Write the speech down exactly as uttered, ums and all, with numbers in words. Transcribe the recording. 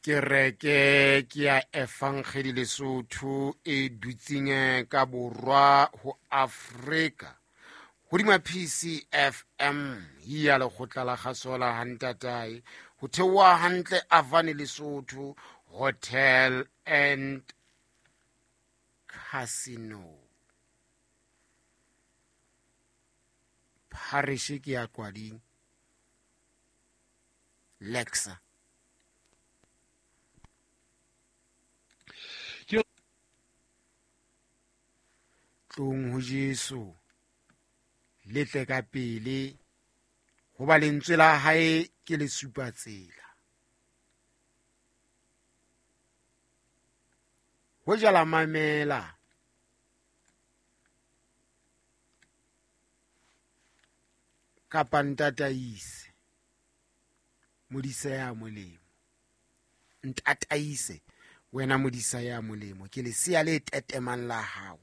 Kereke ke ya Evangeli Lesotho e dutseng ka borwa ho Afrika hodima P C F M ya lekgotla la kgaso la Hantatae ho theoha hantle Avane Lesotho Hotel and Casino. Parish ke ya Kwading Lexa. Tlong ho Jesu le tle ka pele hoba lentswe la hae ke le supa tsela. Ho jala mamela kapa ntataise modisa ya molemo, ntataise wena modisa ya molemo, ke lesea le tetemang la hao.